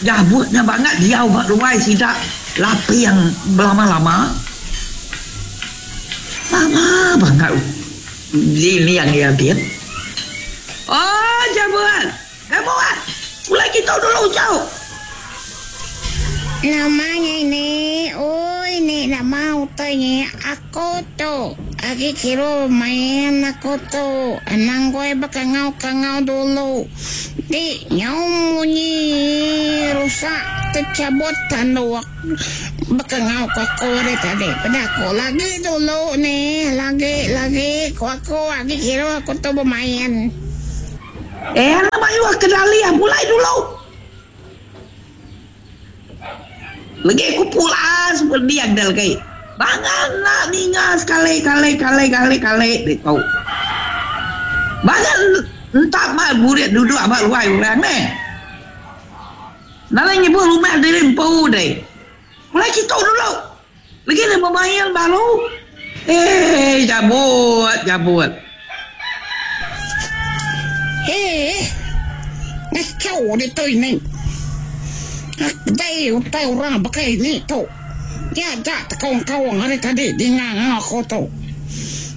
Jabut nya bangat diau ba ruai sida laping belama-lama. Lama bangat dinding iya din. Oh Jabut! Jabut! Pulai kitu dulu uchu. Nama nya ini? Oi ni nama utai nya aku tu. Agi kiruh main aku tu. Anang goi bekangau-kangau dulu. Di nyau munyi rusak techabut tanduk bekangau ku aku ari tadi. Peda aku lagi dulu nih lagi lagi ku aku agi kiruh aku tu bemain. Eh anak mayuh ke dalih pulai dulu. Legi ku pulas peding deh legi. Bangat enda ninga sekali kali kali kali kali ditu. Bangat entap mai burit duduk ba ruai orang neh. Nadai nyebut rumah diri empu deh. Pulai kitu dulu. Legi ne bemain baru. Eii jabut jabut. Hee ngachau ditu ini. Dei utai orang baka ini tu. Dia aja tekaung-kaung ari tadi dinga enggau aku tu.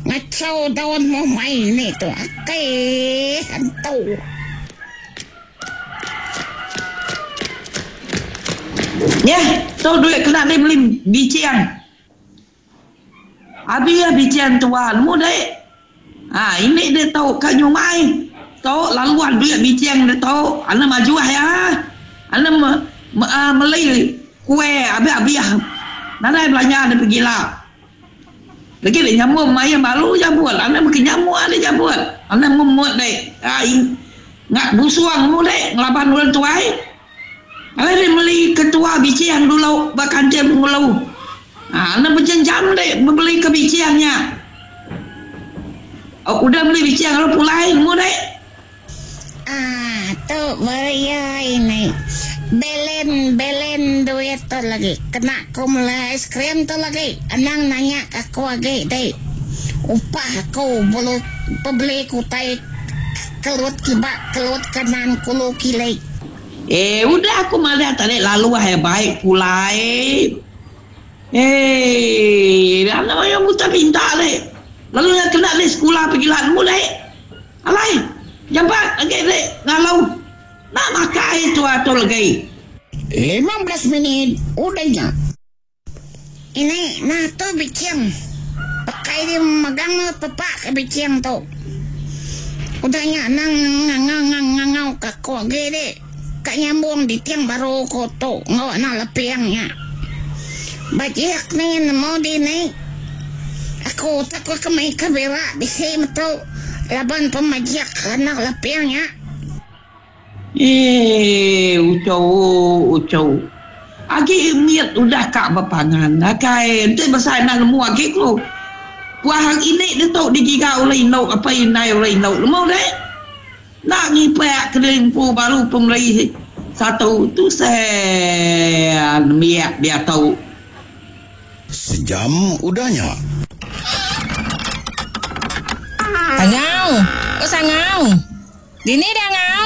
Ngachau daun mumai ini tu. Akih antu. Nyeh, tu duit kena deh meli biching. Abi ah biching tua nemu deh. Ha, ini deh tu ka nyumai. Tu laluan duit biching deh tu. Anu majuh iya. Anu me, me, uh, meli kuih abih-abih. Nadai belanja deh pegila. Lagi dek nyambung mayuh baru jabut. Anang meki nyamuk dek jabut. Anang memut dek. Ngak busung mu dek ngelaban orang tuai. Alai dek meli ketua biching dulu ba kantin pengulu. Anang bejam-jam dek bebeli ke biching nya. Udah meli biching lalu pulai nemu dek. Ah tu baru iya ini. Belen belen duit tu lagi kena ku meli ais krim tu lagi anang nanya ka aku agi dei. Upah aku belu bebeli ku utai kelut kiba kelut kanan kulu kili. Eh udah aku madah tadi lalu ai baik pulai. Eh anang mayuh buta pinta dei. Lalu iya kena dei sekula pegila nemu dei. Alai, jampat agi dek ngalau enda makai tua tu legi. 15 minit udah nya. Ini nah tu biching. Pakai dia megang pepak ke biching tu. Udah nya nang ngangau ngangau ke aku agi dek. Ka nyambung diting baru ko tu enggau anak leping nya. Bajik ni nemu dini. Aku takut ke mei ke bira bisi metu laban pemajik anak leping nya. Eii uchu uchu. Agi mit udah ka bepangan akai enti besai enda nemu agi ku. Puah ini ditu digiga ulih indu apai indai ulih indu nemu deh. Enda ngipak ke diri empu baru pemeri satu tu seh nembiak diatu. Sejam udah nya. Angau! Oh Sangau! Dini deh Angau?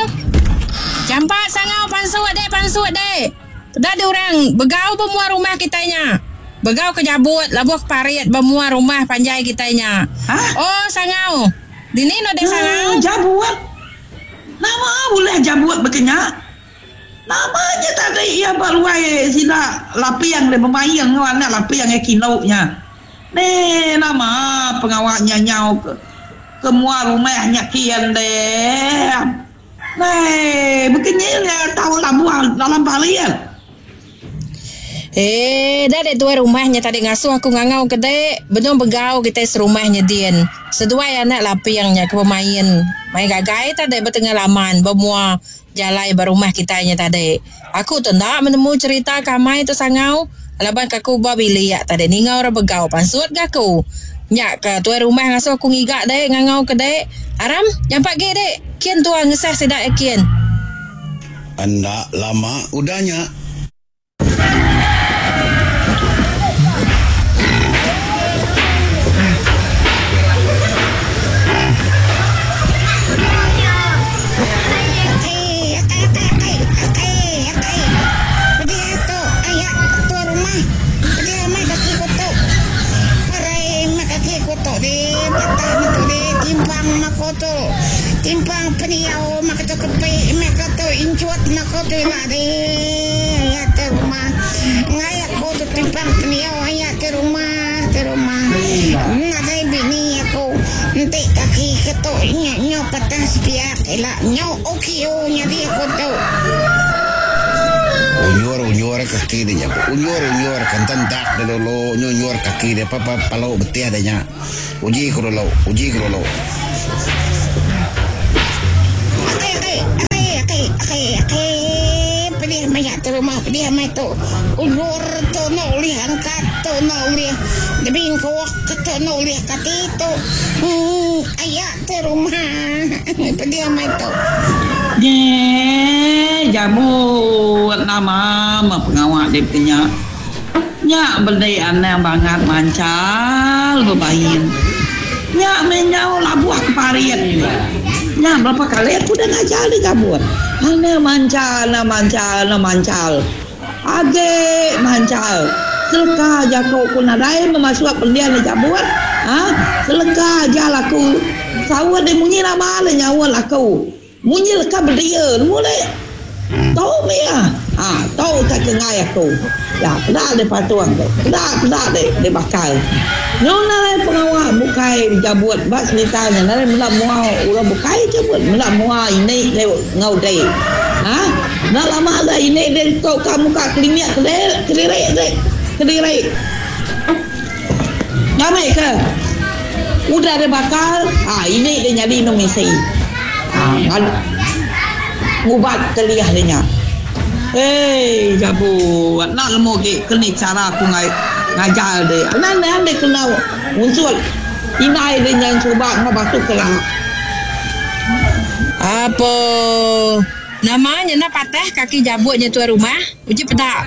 Jampat Sangau pansut deh pansut deh. Peda deh orang begau ba mua rumah kitai nya. Begau ke jabut labuh ke parit ba mua rumah panjai kitai nya. Oh Sangau! Dini enda deh Sangau? Jabut? Nama ulih jabut baka nya? Nama nya tadi iya ba ruai sida laping deh bemain enggau anak laping iya kindu nya. Neh nama pengawa nya nyau ke ke mua rumah nya kin deh. Neh baka nya nya tau labuh dalam parit. Eh, dah dek tuai rumah nya tadi ngasuh aku ngangau ke dek, benung begau kitai serumah nya din. Seduai anak laping nya ke bemain main gagai tadi ba tengah laman ba mua jalai ba rumah kitai nya tadi. Aku tu enda menemu cherita ke amai tu sangau laban ke aku ba bilik tadi ninga orang begau pansut ga aku. Nya ke tuai rumah ngasuh aku ngiga dek ngangau ke dek. Aram, nyampat gi dek kin tua ngesah sida iya kin. Enda lama udah nya. Timpang pendiau maka tu kepi meh ka tu inchut enda ko tu ila deh aya ti rumah. Enggai aku tu timpang pendiau aya ti rumah ti rumah. Nadai bini aku enti kaki ke tu nya nyu patah sepiak ila nyu OKU nyadi aku tu. Unjur unjur kaki dia nya. Unjur unjur ke ententak dia dulu nyu unjur kaki dia pa pa palu betih dia nya. Uji ku dulu, uji ku dulu. Akai akai akai akai akai akai pedih maya tu rumah pedih amai tu unjur tu enda ulih angkat tu enda ulih dibingkuk tu enda ulih kati tu uhh aya tu rumah pedih amai tu. Nyeh jambut nama meh pengawa dep nya. Nya beli anang bangat manchal bebain. Nya meh nyau labuh ke parit. Nya berapa kali aku udah ngajar deh jabut. Anang manchal, anang manchal, anang manchal. Agi manchal. Seleka jaku ku nadai meh masuk pending deh jabut. Ha? Seleka aja laku. Saut deh munyi nama deh nyaut aku. Munyi leka bedia nemu deh. Tu mih iya. Ha, tu utai ke enggai aku. Ya, peda deh patung tu. Peda, peda deh, deh bakal. Nyau nadai pengawa bukai bejabut ba serita nya nadai meda mua orang bukai jabut meda mua ini deh enggau deh. Ha, enda lama deh ini deh tu ka muka klinik ke deh kediri deh, kediri. Ngambi ke udah deh bakal, ha ini deh nyadi indu misi. Ngubat ke liah deh nya. Hei jabu enda nemu agi ke ni chara aku ngajar deh. Anang anang deh kena unsut indai deh nya suba enggau batu kela. Apo. Nama nya enda patah kaki jabut nya tuai rumah. Uji peda.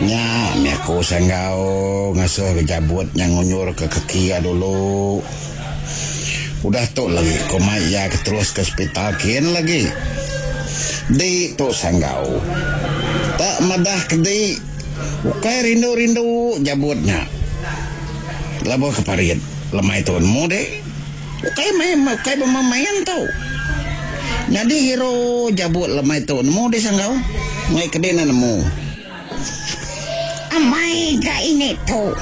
Nya mih aku sanggau ngasuh ke jabut nya ngunyur ke kaki iya dulu. Udah tu lagi ku mai iya ke terus ke sepital kin lagi. Di tu sanggau. Tak madah ke di ukai rindu-rindu jabut nya. Lebuh ke parit lemai tu nemu di. Ukai main ukai bemain tu. Nyadi hero jabut lemai tu nemu deh sanggau. Ngai kedi enda nemu. Amai ga ini tu.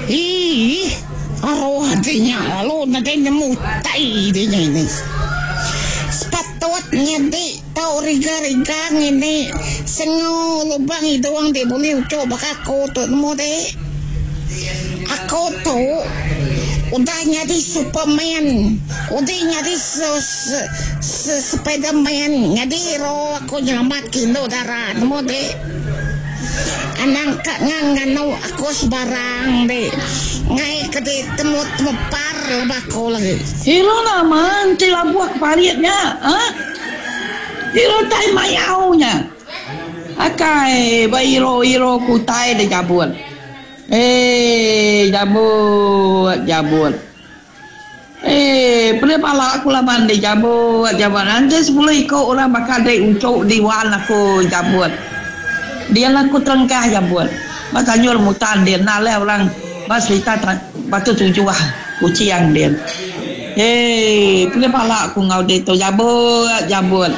Iih aruh ati nya lalu nadai nemu utai di nya ini. Sepatut nyadi tau riga-riga ngini sengu lubang idung ti bulih uchu baka aku tu nemu deh. Aku tu udah nyadi Superman, udah nyadi Spiderman, nyadi hero aku nyelamat ke indu dara nemu dek. Anang ka nganu aku sebarang dek. Ngai ke dek temu temepar leba aku lagi. Hero nama enti labuh ke parit nya? Ha? Hero tai mayau nya. Akai ba iro-iro ku utai deh jabut. Eii jabut jabut. Eii pedih pala aku laban deh jabut jabut. Enti sepuluh iko orang baka deh uchu diwan aku jabut. Dian aku terengkah jabut. Ba tanjur mutan din enda alih orang ba serita batu tujuh kuching din. Eii pedih pala aku enggau deh tu jabut jabut.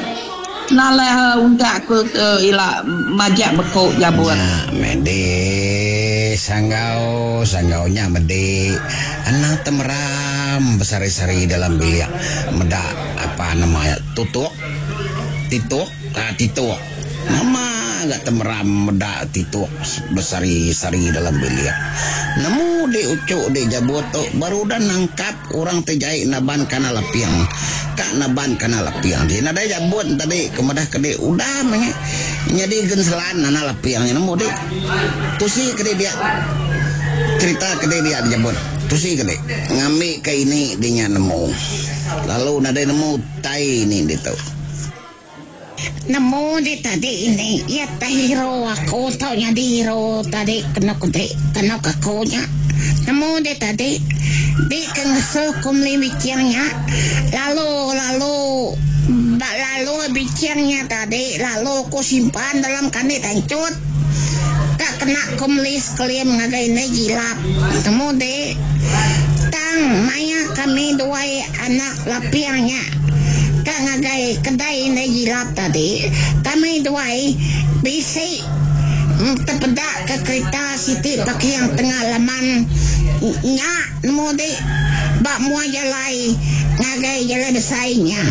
Nalai untak aku tu ila majak beku jabut. Nya medi sanggau sanggau nya medi anang temeram besari-sari dalam bilik meda apa nama iya tutuk tituk ah tituk nama ga temeram meda tituk besari-sari dalam bilik nemu di uchu di jabut tu baru udah nangkap. Orang ti jai naban kana laping ka naban kana laping ti nadai jabut tadi ke madah ke di udah meh nyadi genselan anak laping nya nemu di tusi ke di dia cerita ke di dia jabut tusi ke di ngambi ke ini di nya nemu lalu nadai nemu utai ini ditu. Nemu di tadi ini iya teh hero aku tau nyadi hero tadi kenu ke di kenu ke aku nya. Nemu di tadi di ke ngesuh ku meli biching nya lalu lalu ba lalu biching nya tadi lalu ku simpan dalam kandi tanchut ka kena ku meli sekelim ngagai indai jilap. Nemu di tang. Tang maya kami duai anak laping nya ka ngagai kedai indai Jilap tadi, kami duai bisi tepeda ke kerita siti parking tengah laman nya nemu di ba mua jalai ngagai jalai besai nya.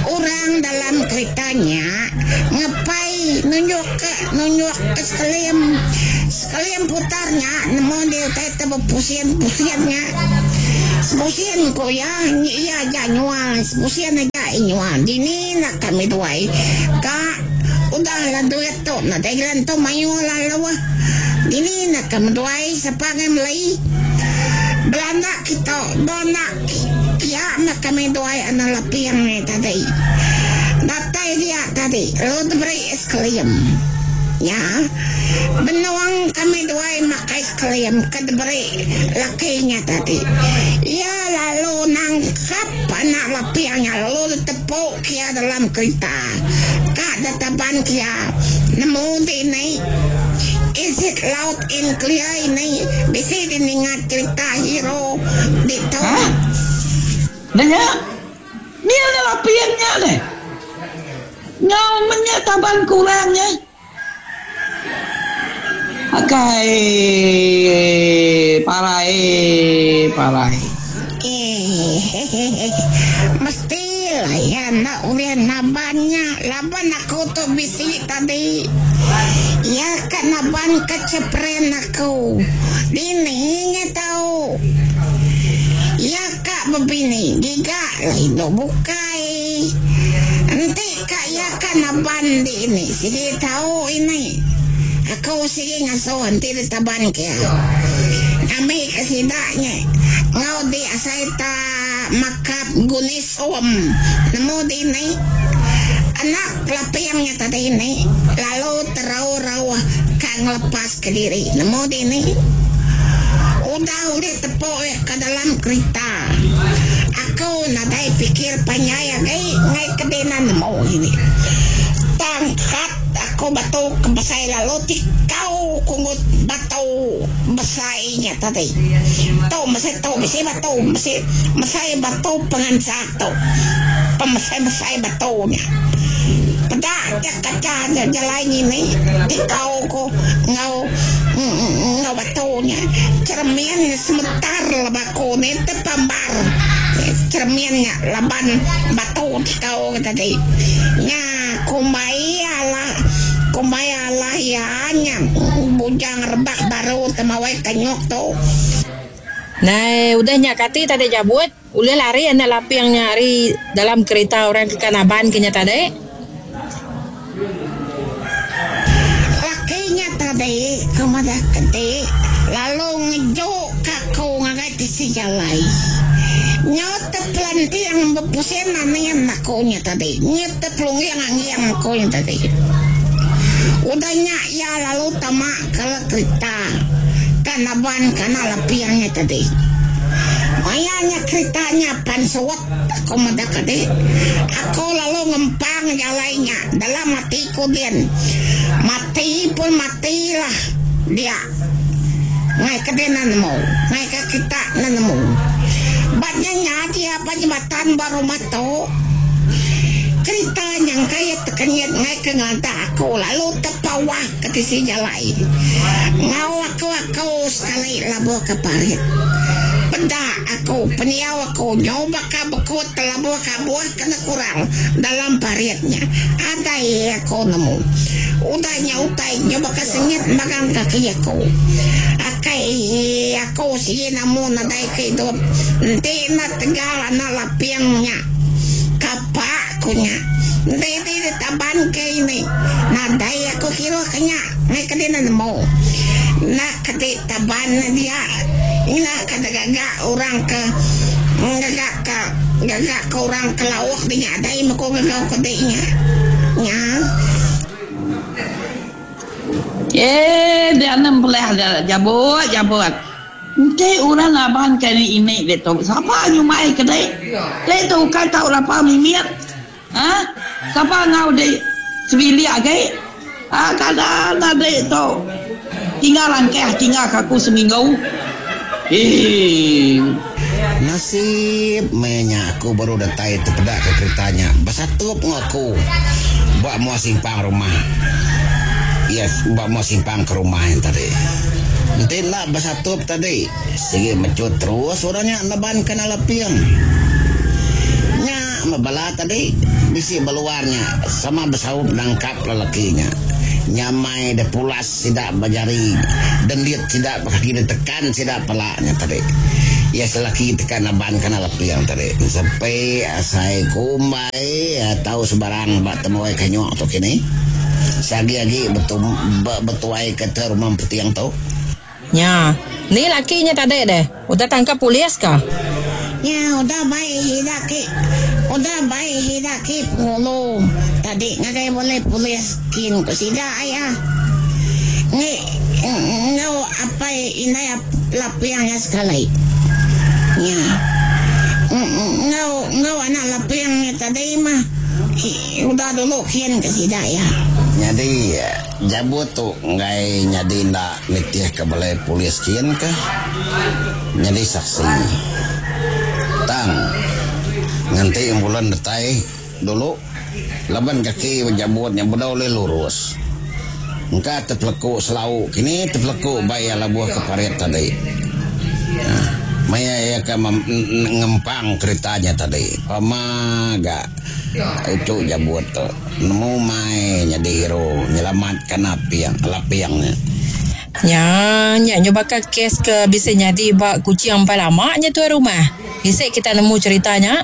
Orang dalam kerita nya ngepai nunjuk ke nunjuk ke sekelim. Kelim putar nya nemu di utai te bepusin-pusin nya. Sepusin ku iya, iya aja nyual, sepusin aja iya nyual. Dini enda kami duai ka udah lah duit tu nadai jalan tu mayuh lalu. Dini enda kami duai sapa ngai meli. Belanda kitu benda pia meh kami duai anak laping nya tadi. Datai dia tadi lalu diberi es krim. Nya. Benung kami duai makai skrim ke diberi laki nya tadi. Iya lalu nangkap anak laping nya lalu ditepuk iya dalam kerita. Ka ditaban ke iya nemu dini. Is it loud and clear ini bisi dininga cerita hero ditu. Hah? Nya. Ni anak laping nya deh. Nyau menya taban kurang nya. Akai parai parai. Hehehe mesti lah iya enda ulih naban nya laban aku tu bisi tadi. Iya ka naban ka chepren aku. Dini nya tau. Iya ka bebini giga lah indu bukai. Enti ka iya ka naban di ini sigi tau ini. Aku sigi ngasuh enti ditaban ke iya. Ngambi ke sida nya enggau di asai ta makap gunis om nemu di ini. Anak laping nya tadi ini lalu terauh-rauh ka ngelepas kediri nemu di ini. Udah ulih tepuk iya ka dalam kerita. Aku nadai pikir panjai agi enggai ke dina nemu ini. Tangkat aku batu ke besai lalu tikau kungut batu besai nya tadi. Tu mesai tu bisi batu bisi mesai batu pengansak tu. Pemesai-mesai batu nya. Peda nya kacha nya jalai ngini tikau ku enggau enggau batu nya. Cheremin nya semetar leba aku ni tepambar cheremin nya laban batu tikau ke tadi. Nya kumbai alah kumbai alah iya nya bujang rebak baru temawai kanyuk tu. Nai udah nya kati tadi jabut. Ulih lari anak laping nya ari dalam kerita orang ke ka naban ke nya tadi. Laki nya tadi ke madah kedi lalu ngeju ka aku ngagai tisi jalai. Nyau tepelanting bepusin anin aku nya tadi. Nyau tepelungging angging aku nya tadi. Udah nya iya lalu tama ke kerita ka naban ka anak laping nya tadi. Maya nya kerita nya pan suut aku meda kadi. Aku lalu ngempang jalai nya dalam ati ku din. Mati pun matilah dia. Ngai ke dina nemu, ngai ke kita enda nemu. Ba nya nya dia ba jembatan ba rumah tu. Kerita nyangka iya tekenyit ngai ke ngelantak aku lalu tepawah ke tisi jalai. Enggau aku aku sekali labuh ke parit. Peda aku pendiau aku nyau baka bekut telabuh kabuh kena kurang dalam parit nya. Adai aku nemu. Udah nya utai nyau baka sengit magang kaki aku. Akai aku sigi nemu nadai ke idup enti enda tegal anak laping nya. Kapa ku nya. Enti ti ditaban ke ini nadai aku kiruh ke nya ngai ke dina nemu. Enda ke ti taban ne dia ina ke digaga orang ke ngaga ka gaga ke orang ke lauk di nya adai meh ku gagau ke di nya. Nya. Eh dia enda empelah dia jabut jabut. Enti orang ngaban ke ini ditu sapa nyumai ke dek. Dek tu ukai tau lapa mimit. Ha sapa enggau dek sebilik agi. Ha kada enda dek tu tinggal langkah tinggal ke aku seminggu. Hii. Nasib maya nya aku baru datai tepeda ke kerita nya besatup enggau aku ba mua simpang rumah. Yes, ba mua simpang ke rumah nya tadi. Enti enda besatup tadi, sigi mechut terus orang nya neban ke Nalaping. Nya meh bala tadi bisi beluar nya sama besaup nangkap lelaki nya. Nyamai deh pulas sida ba jari dendit sida ba kaki ditekan sida pala nya tadi. Iya selaki teka naban kana leping tadi. Sepi asai kumbai tau sebarang ba temuai kanyuk tu kini. Seagi agi betuai ke te rumah empeting tu. Nya. Ni laki nya tadi deh. Udah tangkap polis ka? Nya udah bai sida ki udah bai sida ki pengulu tadi ngagai bulih polis kin ku sida iya. Ngi enggau apai indai Laping nya sekali. Nya. Enggau enggau anak Laping nya tadi mah udah dulu kin ke sida iya. Nyadi Jabut tu enggai nyadi enda nitihka balai polis kin kah nyadi saksi. Tang, nganti ambulan datai dulu laban kaki Jabut nya bedau ulih lurus. Engka tepeleku selau kini tepeleku ba iya labuh ke parit tadi. Maya iya ke ngempang kerita nya tadi pama ga uchu Jabut tu. Nemu mai nyadi hero nyelamatka naping laping nya. Nya nya nyu baka kes ke bisi nyadi ba Kuching empai lama nya tuai rumah. Bisi kita nemu cherita nya.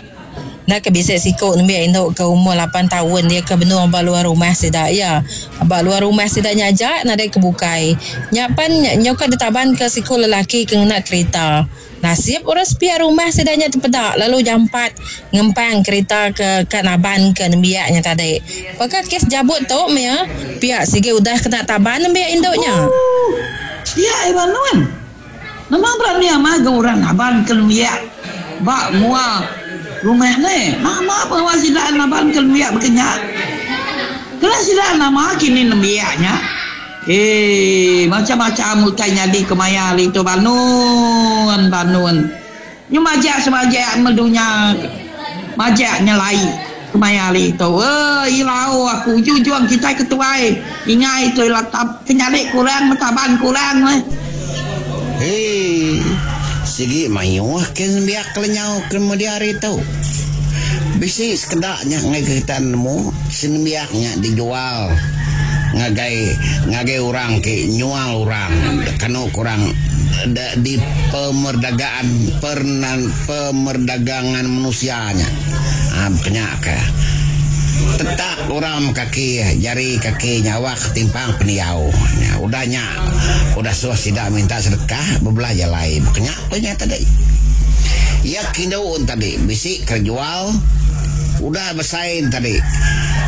Enda ke bisi siku nembiak indu ke umur lapan taun dia ke benung ba luar rumah sida iya. Ba luar rumah sida nya aja nadai ke bukai. Nya pan nyauka ditabanka siku lelaki ke ngena kerita. Nasib orang sepiak rumah sida nya tepeda lalu jampat ngempang kerita ke ka naban ke nembiak nya tadi. Baka kes jabut tu meh pia sigi udah kena taban nembiak indu nya. Ooh. Pia iban nuan. Nama berani amai ga orang naban ke nembiak ba mua rumah neh. Nama pengawa sida naban ke nembiak baka nya. Kena sida nama kini nembiak nya. Eii macam-macam utai nyadi kemaya hari tu banun banun. Nyu majak semajak meh dunya majak nyelai kemaya hari tu. Eii ilau aku ujung-ujung kitai ke tuai ingai tu ila kenyadi kurang betaban kurang meh. Eii sigi mayuh ke nembiak lenyau ke media hari tu. Bisi sekeda nya ngagai kita nemu senembiak nya dijual ngagai ngagai orang ti nyual orang kenu ku orang di pemerdagaan pernan pemerdagangan manusia nya um kenya ke tetak orang kaki jari kaki nyawa ketimpang pendiau nya udah nya udah suah sida minta sedekah bebelah jalai kenya ku nya tadi. Iya kindu tadi bisi kerejual udah besai tadi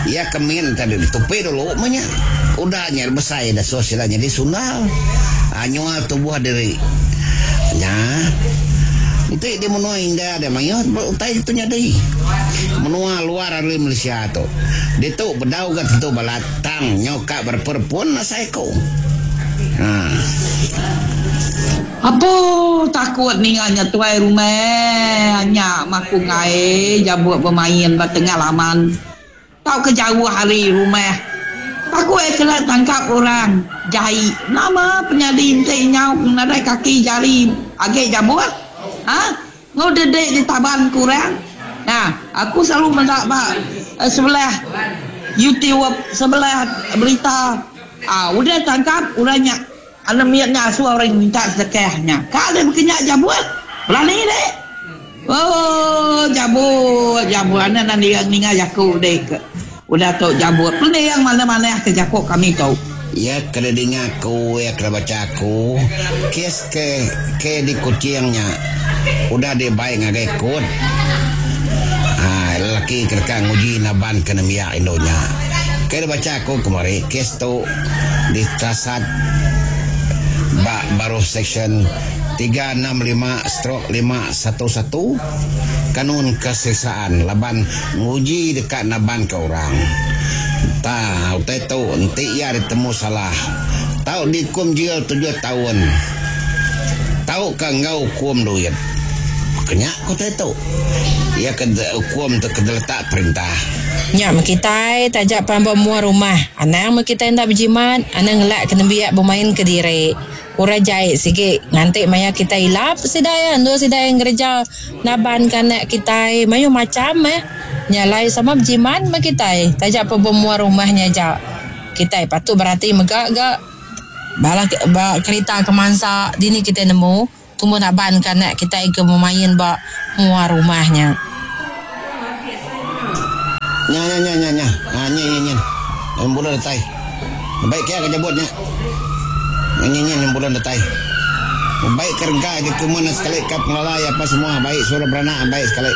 iya ke min tadi ditupi dulu meh nya udah nya besai da suah sida nyadi sundal aaa nyual tubuh diri nya enti di menua India deh mayuh utai tu nyadi menua luar ari Malaysia tu ditu bedau ga tentu balat tang nyau ka berepun-repun asai ku aaa. Apo takut ninga nya tuai rumah nya maku enggai jabuk bemain ba tengah laman tauka jauh ari rumah. Takut iya kena tangkap orang jai. Nama penyadi enti nyau nadai kaki jari agi jabuk? Ha? Enggau dedik ditaban ke orang. Nah, aku selalu meda ba sebelah YouTube, sebelah berita. Ah, udah tangkap orang nya. Anak mit nya asuh orang minta sedekah nya. Ka deh baka nya jabut. Berani deh. Oh jabut jabut anak enda ninga ninga jaku deh ke udah tu jabut. Pening manah manah ke jaku kami tu. Iya ke didinga aku, iya ke dibacha aku, kes ke ke di Kuching nya udah dibai ngagai kot. Haa lelaki ke deka nguji naban ke nembiak indu nya. Ke dibacha aku kemari kes tu ditasat ba baruh Seksyen 365 stroke 511 Kanun Keseksaan laban nguji deka nabanka orang. Tang utai tu enti iya ditemu salah tau diukum jil tujuh taun. Tauka enggau ukum duit. Baka nya ku utai tu. Iya ke ukum tu ke diletak perintah. Nya meh kitai taja pan ba mua rumah. Anang meh kitai enda bejimat, anang ngelak ke nembiak bemain kediri. Orang jai sigi nganti maya kitai ilap sida iya endur sida iya ngereja naban ke anak kitai mayuh macham meh. Nya alai sama bejimat meh kitai taja pan ba mua rumah nya aja. Kitai patut berati mega ga bala ba kerita ke mansa dini kitai nemu tumbuh naban ke anak kitai ke bemain ba mua rumah nya. Nya nya nya nya nya. Ha nyin nyin nyin. Bulan datai. Baik ke jabut nya. Nyin nyin bulan datai. Baik ke rengka dokumen sekali ka pengelala iya apa semua baik suruh beranak baik sekali.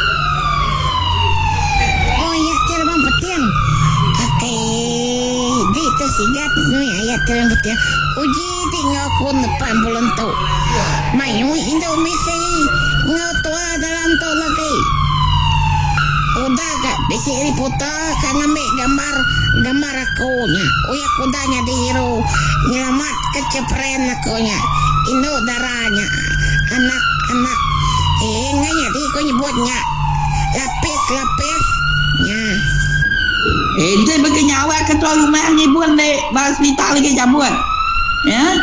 Oh iya ti lubang peting. Akai di tu sigat nui ayat ti lubang peting. Uji ti enggau aku nepan bulan tu. Mayuh indu misi enggau tua dalam tu lagi. Udah ga bisi reporter ka ngambi gambar gambar aku nya. Uyak udah nyadi hero nyelamat ke chepren aku nya. Indu dara nya anak anak eh enggai nyadi ku nyebut nya lapis lapis nya. Enti bagi nyawa ketua rumah ngibun dek ba hospital agi jabut. Ya,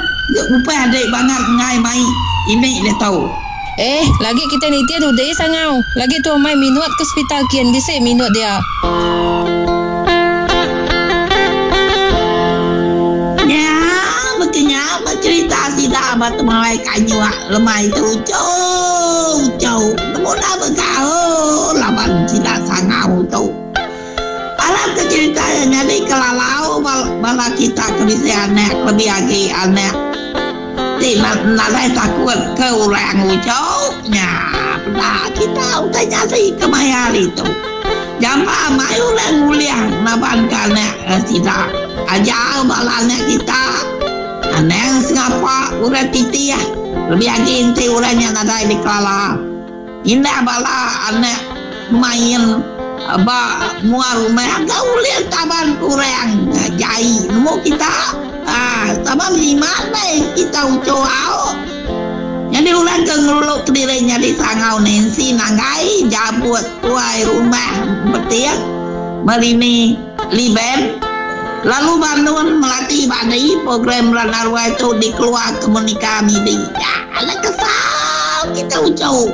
upah dek bangat enggai mai ini diatu. Eh, lagi kitai nitih dudi sangau. Lagi tua mai minut ke sepital kin bisi minut dia. Nya baka nya ba cherita sida ba temawai kanyuk lemai tu uchu uchu nemu enda begaul laban sida sangau tu. Alam ke cherita iya nyadi kelalau bala kita ke bisi anak kelebih agi anak Ti nadai takut ke orang uchu nya peda kita utai nyadi kemaya hari tu. Jampa mai orang ngulih naban ke anak sida. Ajar bala anak kita anang sengapa orang titih lebih agi enti orang nya nadai dikelala. Indah bala anak main ba mua rumah ga ulih taban ke orang jai nemu kita. Haa sama bejimat meh kita uchu au. Nyadi orang ke ngelulu kediri nyadi sangau Nancy Nanggai jabut tuai rumah Beting Merini Liben lalu Bandun Melati Badi program Rana Ruai tu dikeluar Komunika Midi. Nya alai kesal kita uchu.